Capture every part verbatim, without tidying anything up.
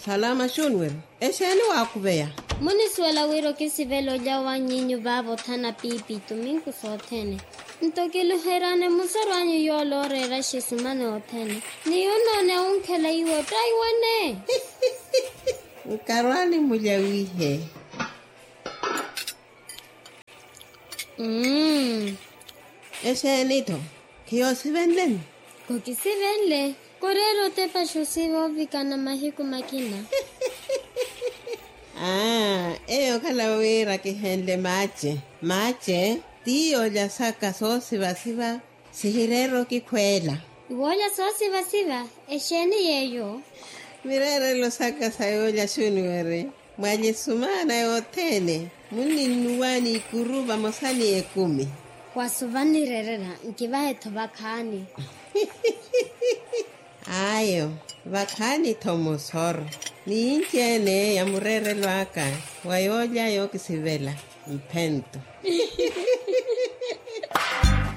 Salama xunweri. Exeeni waakhuveya? Munisuwela wira okisivela olya wa nyinyu vaavothana piipi tuminku sothene. Nto kiluheryaani musaru anyu yoola ooreera xisumani othene. Ni yunnoone awunkhela iwe ottaiwane. Nkarwaani mulya wiihe. Mmm. Exeeni-tho? Khiyoosivenleni? Khokisivenle. Koreera otepa xosiva ovikana mahiku makina. Aa, eyo okhala wira kihenle maace. Maace ti yoolya saka soosivasiva. Sihireera okikhweela. Iwoolya soosivasiva? Exeeni yeeyo? Mireerelo saka sa yoolya xuniweri. Mwalye sumaana yothene. Munninnuwa n'ikuru vamosa ni ekumi. Wasu vannireerela nkivahe-tho vakhaani. Ayo, vakhaani-tho musoro. Ni yinci-ene ya mureerelo aka wa yoolya yookisivela. Mphento.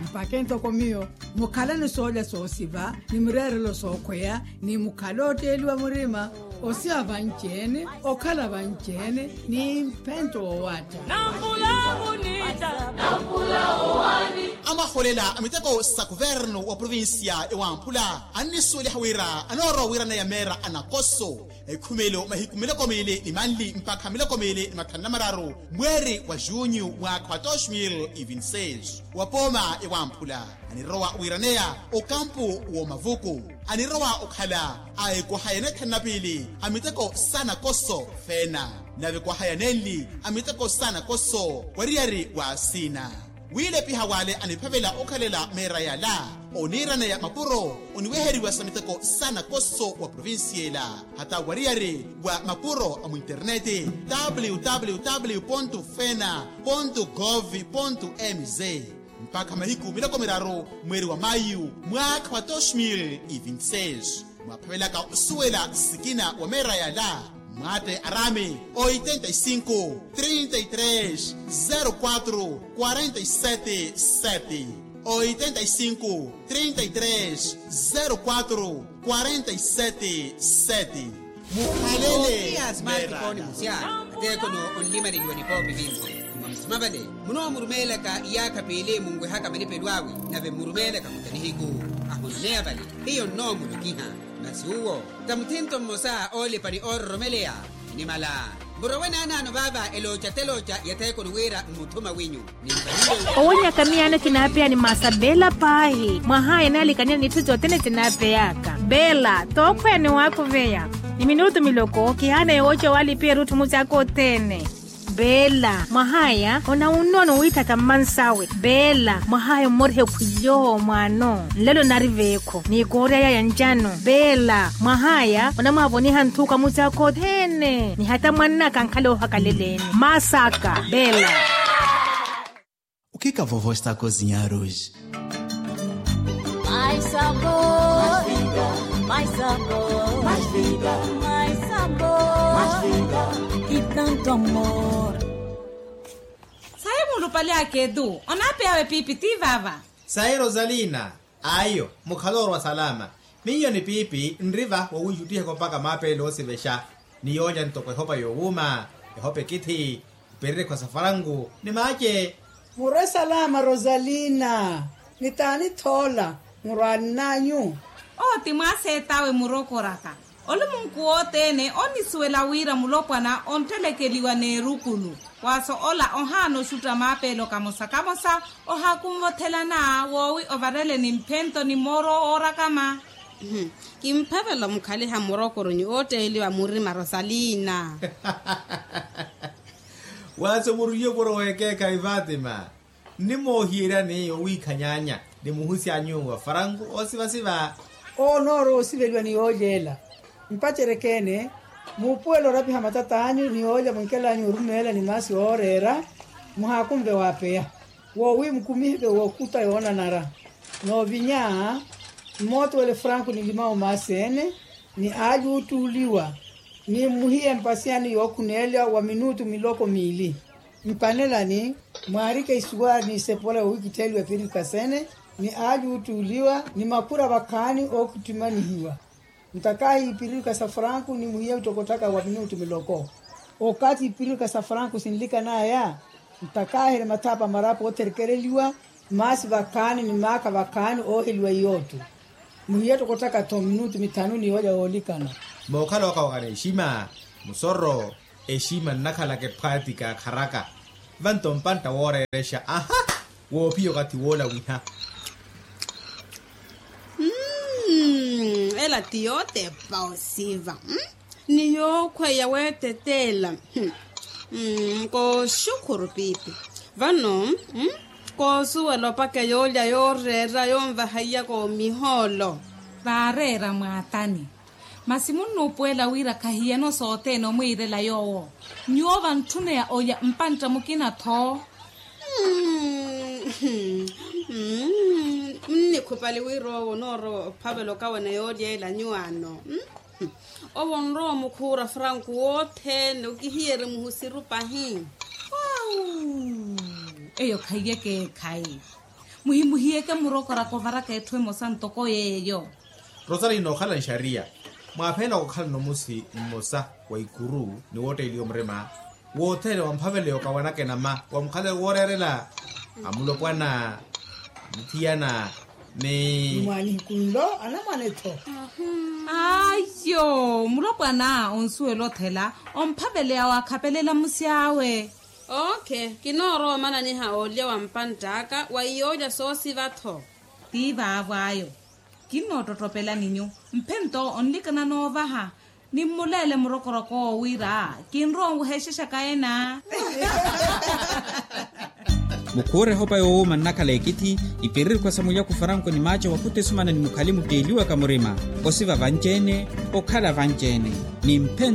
Mpakha entoko miyo mukhalani soolya soosiva ni mireerelo sookhweya, ni mukhale ootteeliwa murima, osiva vanci-ene, okhala vanci-ene ni mphento woowatta. Nampula vunitta. Nampula owani. Amaholela a miteko sa kuvernu wa provincia ewamphula annisuweliha wira anoorowa wiiraneya meera a nakoso. Ekhumelo mahiku miloko miili ni manli mpakha miloko miili ni mathanu na mararu mweeri wa junyu mwaakha wa dos mil e vinte e seis. Wa pooma ewamphula anirowa wiiraneya okampu w'omavuku. Anirowa okhala a ekwahaya neethanu na piili a miteko sa nakoso feena, nave ekwahaya nenli a miteko sa nakoso wariyari wa asina. Wiilepiha wale aniphavela okhalela meera yala oniiraneya mapuro oniweheriwa sa miteko sa nakoso wa provincia ela, hata wariyari wa mapuro a muinterneti, www fena gov mz. Mpakha mahiku miloko miraru mweeri wa mayu mwaakha wa dos mil e vinte e seis. Mwaphavelaka osuwela sikina wa meera yala, mwaatte araami oitenta e cinco trinta e três zero quatro quarenta e sete sete. Oitenta e cinco trinta e três zero quatro quarenta e sete sete. Mukhalele. Otiya smartphone musya. Ateekono onlimaneliwa nipoopi vinci. Mwa musima vale munoomurumeelaka iyaakha piili munwehaka malipelo awe, nave mmurumeelaka kuta nihiku ahonneya vale. Hiyo nnoomulukiha. Masi uwo ta muthinto mmosa oolipa ni oororomeleya. Nimala murowe naanaano vaava elooca telooca ya theekoni wira mmuthuma winyu. Owonyaka miyaano kinaapeya ni maasa beela paahi. Mwahaya enaalikaniya n'itthu sothene sinaapeyaka beela. Tookhweya ni waakhuveya ni minutu miloko kihaana yowooca waalipiya erutthu musi aka othene. Beela mwahaya onawunnoona owiithaka mmansawe. Beela mwahaya ommorihe khwiyo mwaano nlelo nari veekho n'ikoori aya ya ncano. Beela mwahaya onamwaavoniha nthuka musi aka othene ni hata mwannaka ankhala oohakaleleeni. Maasaka beela. O que que a vovó está a cozinhar hoje? Mais sabor, mais sabor, mais vida, mais sabor, mais vida, e tanto amor. Sayi mulupale a ketu onaapeyawe piipi ti vaava. Sayi rosalina. Ayo mukhale orwa salama. Miyo ni piipi nri va wowiixuttihaka opaka maapeelo oosivexa ni yoolya ntoko ehopa yoowuuma, ehopa ekithi, mpererekho sa faranku ni maace. Murwe salama rosalina. Ni taani thoola murwaani n'anyu? Owo ti mwaaseet'awe murokoraka. Olumunku wothene onnisuwela wira mulopwana onttelekeliwa n'erukulu. Waaso ola ohaana oxutta maapeelo kamosa kamosa. Ohaakunvothelana woowi ovarele ni mphento ni mooro oorakama. Kimphavela mukhaliha murokoro ni ootteeliwa murima rosalina. Waaso murwiye opuro w'ekeekhayi fatima. Nnimoohiyeryani owiikhanyaanya ni muhusi anyu wa faranku oosivasiva. Owo onoorowa osiveliwa ni yoolyeela. Mpacereke-ene muupuwela orapiha matat'anyu ni yoolya mwinkela anyu orumeela ni maasi ooreera. Muhaakunve waapeya woowi mukumiheke wookuta yoonanara. Noovinya mmootuwele franku ni limawu maasi-ene ni aalyuuttuuliwa ni mmuhiye mpasiyani yookhuneelya wa minutu miloko miili. Mpanelani mwaarike isuwaari ni isepola yoowikittheliwa eperika sene ni aalyuuttuuliwa ni makura vakhaani ookittimanihiwa. Ntakaahi ipiririka sa franku nimuhiya otokotthaka wa minutu miloko. Okathi ipiririka sa franku sinlikanaya ntakaahi eri mathapa marapu otherekereliwa. Maasi vakhaani ni maakha vakhaani ooheliwa iyootu. Muhiya otokotthaka-tho minutu mithanu ni yoolya yoolikana. Mookhala okawaka n'exima musoro. Exima nnakhalaka ephwaatika akharaka. Vanto mpantta wooreerexa aha. Woophiya okathi woolawiha. Ela ti yootepa osiva. Ni yookhweya weeteteela. Kooxukhuru piipi. Vano koosuwela opakha yoolya yooreera yoonvaha iyaka omihoolo. Vaareera mwaatani. Masi munnuupuwela wira khahiyano sothene omwiirela yoowo. Nyuwo vantthuneya olya mpantta mukina-tho. Mmm mmm. Munnikhupali wira owo onoorowa ophavela okawana yoolya ela nyuwaano. Owo onrowa omukhuura franku wothene okihiyeri muhusiru pahi. Eyo khaiyeke ekhayi. Muhimuhiyeke murokoraka ovaraka etthu emosa ntoko yeeyo. Rosalina okhala nxariya. Mwaaphelaka okhalana omusi mmosa wa ikuru ni wootteeliwa murima wothene wamphaveleya okawanaka enama wamukhaleke wooreerela. Amulopwana muthiyana ni mwaanihiku nlo anamwane-tho. Ayo mulopwana onsuwela othela omphaveleya waakhapelela musi awe. Ookhe kinoorowa omananiha olya wa mpantt'aka wa iyoolya soosiva-tho. Ti vaavo ayo. Kinnoottottopelani nyu mphento onlikana noovaha. Nimmuleele murokorok'owo wira kinrowa onwehexexaka ena. Mukhuure ehopa yoowuuma nnakhala ekithi. Ipiririkwa sa mulyaku faranku ni maaca wa khutisumana ni mukhali mutteeliwaka murima osiva vanci-ene. Okhala vanci-ene ni mphento.